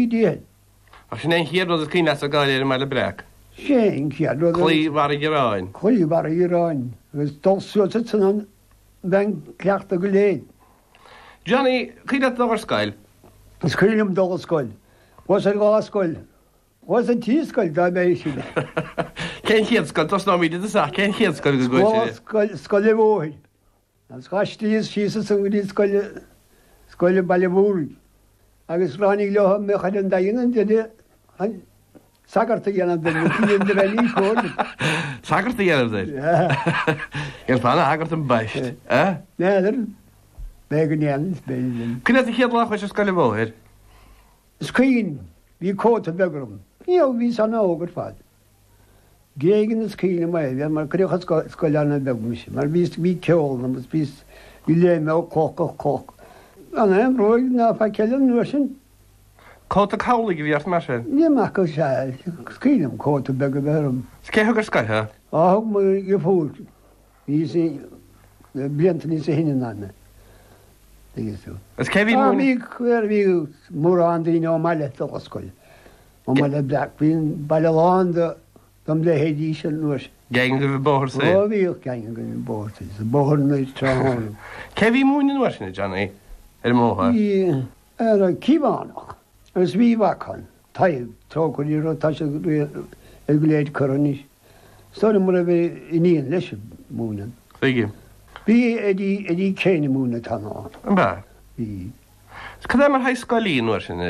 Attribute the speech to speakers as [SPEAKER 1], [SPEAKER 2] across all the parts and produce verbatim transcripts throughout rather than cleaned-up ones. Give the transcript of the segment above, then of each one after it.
[SPEAKER 1] dícheall.
[SPEAKER 2] Ach sin é an chéad rud is cuimhin leatsa ag gabháil ar an mBaile Breac.
[SPEAKER 1] Sin é an chéad rud.
[SPEAKER 2] Claí Bharra Dhireáin.
[SPEAKER 1] Claí Bharra Dhireáin agus dul suas ansan an bheinn cleachta go léir.
[SPEAKER 2] Johnny, cuimhin leat dul ar scoil?
[SPEAKER 1] Is cuimhin liom dul ar scoil. Chuas ar dhá scoil. Chuas ar trí scoil dá mbeidh sin.
[SPEAKER 2] Cén chéad scoil? Tosnóimid i dtosach. Cén chéad scoil go gcuaigh
[SPEAKER 1] tú? Scoil, Scoil an Bhóthair. Agus d'aistríos síos ansan go dtí scoil, scoil an Bhaile Mhúraigh. Agus ráinig leo a mbeadh ar an Daingean an duine chun sagart a dhéanamh de, nó cinn de bheith níos cóir.
[SPEAKER 2] Sagart a dhéanamh de? Dhéanfá ana-shagart ambaist, eh?
[SPEAKER 1] N'fheadar. B'fhéidir go ndéanfainn, is b'fhéidir.
[SPEAKER 2] Cuimhin leat an chéad lá a chuais ar scoil an Bhóthair?
[SPEAKER 1] Is cuimhin, bhí cóta beag orm. Ní raibh, bhíos an-óg ar fad. Gréigean is cuimhin liom é, bhí, mar cuireadh ar scoil an-bheag mise, mar bhíos, bhí ceol ionam agus bhíos, bhí léim ó cloch go cloch. Gan aon bhróig ná faic eile an uair sin.
[SPEAKER 2] Cóta cabhlaigh a bhí ort mar sin?
[SPEAKER 1] Ní maith go sea, is cuimhin liom cóta beag a bheith orm.
[SPEAKER 2] Is cé thug ar scoil thú?
[SPEAKER 1] Á, thug mo dheirfiúr, bhí sí blianta níos sine ná mé. Tuigeann tú.
[SPEAKER 2] Is cé bhí
[SPEAKER 1] Á, bhí, bhí mórán daoine ón mbaile ag dul ar scoil. Ón mBaile Breac. Bhí an baile lán de dom leithéidí sin an uair sin.
[SPEAKER 2] Gang agaibh an Bóthar Soir?
[SPEAKER 1] Ó bhíodh gang againn an Bóthar Soir, sa Bóthar Anoir tráthnóna.
[SPEAKER 2] Cé bhí ag múineadh an uair sin, a Johnny, ar an mBóthar?
[SPEAKER 1] Bhí ar Cíobhánach agus bhí mhac ann, Tadhg, trócaire air, tá sé ar go léir curtha anois. Is dóigh liom go raibh iníon leis ag múineadh.
[SPEAKER 2] Tuigim.
[SPEAKER 1] Bhí Eddie, Eddie Kane ag múineadh tamall.
[SPEAKER 2] An b'ea?
[SPEAKER 1] Bhí.
[SPEAKER 2] Is cad é mar shaghas scoil í an uair sin?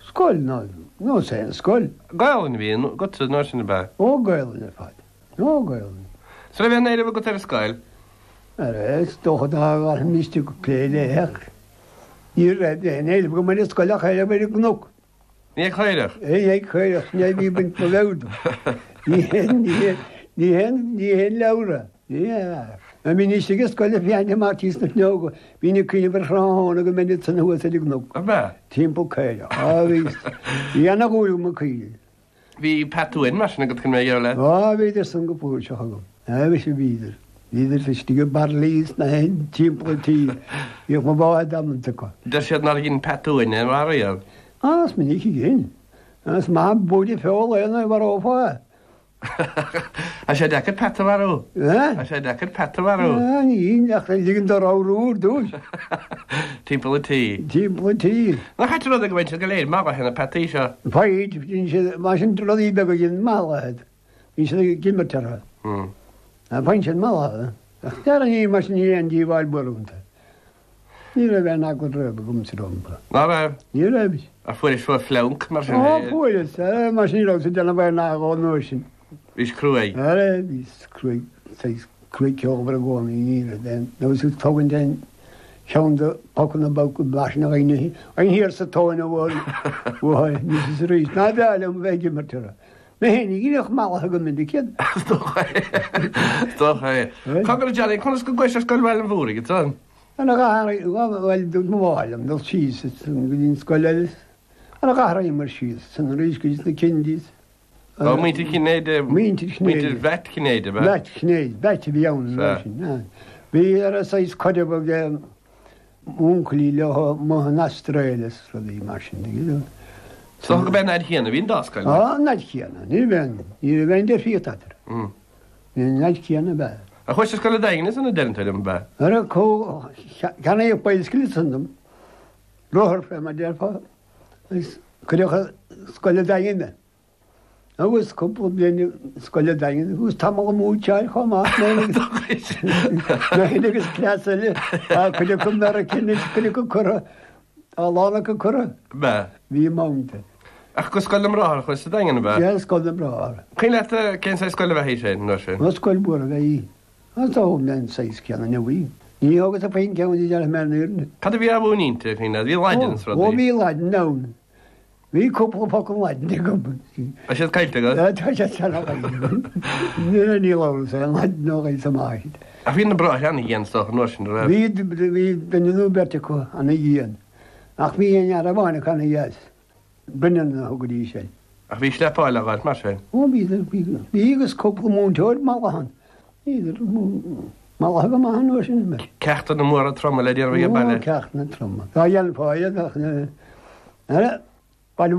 [SPEAKER 1] Scoil? Ná, nós aon scoil.
[SPEAKER 2] Gaelainn a bhí agatsa an uair sin, ab ea?
[SPEAKER 1] Ó, Gaelainn ar fad. Ó, Gaelainn.
[SPEAKER 2] Is raibh aon éileamh agat ar an scoil?
[SPEAKER 1] Ara, is dócha dá bhfaighimís ag plé léi ach ní raibh aon éileamh agam ar an scoil ach éileamh ar an gcnoc.
[SPEAKER 2] Ní ag caorach?
[SPEAKER 1] Ní ag caorach, sin é a bhí ag baint mo mheabhair dom. Ní haon, ní haon, ní haon, ní haon leabhar é. Ní hea. Nuair a bhínn istigh i scoil ag féachaint amach thíos na fuinneoga, bhínn ag cuimhneamh ar thráthnóna go mbeinn ansan thuas ar an gcnoc.
[SPEAKER 2] Ab ea?
[SPEAKER 1] Timpeall caorach. Á, bhí, bhí ana-dhúil agam i gcaoirigh.
[SPEAKER 2] Bhí pet uain mar sin agat chun bheith ag leat?
[SPEAKER 1] Á, bhíodar san go flúirseach agam. Á, mhuise bhíodar. Bhíodar istigh i bairillí sna haon timpeall an tí. Bhíodh mo bhád amanta acu.
[SPEAKER 2] Deir siad nár dhein peata uain é riamh.
[SPEAKER 1] Á, is minic a dhein. Is maith buaile feola é nuair a mharófá é.
[SPEAKER 2] Tá sé deacair peata a mharú. Tá sé deacair peata a mharú.
[SPEAKER 1] Ní ach ligean dó ramhrú ar dtús.
[SPEAKER 2] Timpeall an tí.
[SPEAKER 1] Timpeall an tí.
[SPEAKER 2] Nach ait an rud é go bhfaigheann siad go léir mallaithe na peataí seo?
[SPEAKER 1] Faigheann, bíonn siad, mar sin rudaí beaga a dhéanann mallaithe, bíonn siad ag imirt orthu. Faigheann siad mallaithe. Ach dear ní mar sin ní aon díobháil mhór iontu. Ní raibh aon eagla riamh agamsa rompu.
[SPEAKER 2] Ná raibh?
[SPEAKER 1] Ní raibh.
[SPEAKER 2] Ach fuairis fliúnc mar sin?
[SPEAKER 1] Ó, fuaireas, mar sin ní rabhas ag déanamh aon agó an uair sin.
[SPEAKER 2] Bhís cruaidh?
[SPEAKER 1] Ara, bhíos cruaidh, saghas cruaidh ceolmhar i gcónaí, ní raibh aon, nó is tógaint aon cheann de phocanna beaga mar sin a dhaoine, an thiar sa tóin a bhuail uathu anois is arís. Ná b'fhearr liom a bheith ag imirt orthu. Mé féin a ghineadh mallaithe go minic iad.
[SPEAKER 2] Is dócha é. Is dócha é. Cogar a Johnny, conas go gcuais ar scoil Bhaile an Mhúraigh ansan?
[SPEAKER 1] Ar a dh'athraigh, bhuel, dúirt mo mháthair liom dul síos go dtí an scoil eile, ar a dh'athraíomar síos san arís go dtí sna Kennedys.
[SPEAKER 2] Ó, muintir Chinnéide.
[SPEAKER 1] Muintir Chinnéide.
[SPEAKER 2] Muintir Mheait Chinnéide, ab ea?
[SPEAKER 1] Mheait Chinnéide, Mheait a bhí ann an uair sin. Bhí ar a saghas caidreamh ag m'uncailí leo amuigh in Astráil is rudaí mar sin, you know.
[SPEAKER 2] Is dócha go b'é an fhaid chéanna a bhí an dá scoil.
[SPEAKER 1] Á, an fhaid chéanna, ní raibh aon, ní raibh aon difríocht eatarthu. An fhaid chéanna ab ea.
[SPEAKER 2] Ach chuais ar scoil an Daingin ansan a deireann tú liom, ab ea?
[SPEAKER 1] Ara, ceannaíodh bicycle ansan dom, rothar fé mar déarfá, agus cuireadh ar scoil an Daingin mé. Agus cúpla bliain i scoil an Daingin, agus tamall ag múinteáil chomh maith, mé féin agus cleas eile, tá cuid acu i Meiriceá anois, cuid acu curtha, tá a lán acu curtha.
[SPEAKER 2] Ab ea?
[SPEAKER 1] Bhí amanta.
[SPEAKER 2] Ach go Scoil na mBráthar a chuais sa Daingean, ab ea?
[SPEAKER 1] Sea, Scoil na mBráthar.
[SPEAKER 2] Cuimhin leat cén saghas scoil ab ea í sin, an uair sin?
[SPEAKER 1] Ó, scoil mhór ab ea í. Is dóigh liom an saghas céanna inniu í. Ní thógas a phuinn ceann di, déarfaidh mé an fhírinne.
[SPEAKER 2] Cad a bhí á mhúineadh inti, cuimhin leat? Bhí Laidin is rudaí.
[SPEAKER 1] Ó, bhí Laidin ann. Bhí cúpla focal Laidin agam.
[SPEAKER 2] Tá siad caillte agat?
[SPEAKER 1] Tá siad sean agam. Ní labhras aon Laidin ó ghaoth amach.
[SPEAKER 2] Ach bhí na bráithre ana-dhian, is dócha, an uair sin, an raibh?
[SPEAKER 1] Bhí, bhí duine nó beirt acu ana-dhian. Ach bhí aon fhear amháin acu ana-dheas. Brennan a thugaidís air.
[SPEAKER 2] Ach bhí sleepáil á ghabháilt mar sin.
[SPEAKER 1] Ó bhí, bhí, bhí agus cúpla múinteoir mallaithe ann. Bhíodar mallaithe go maith an uair sin. Baile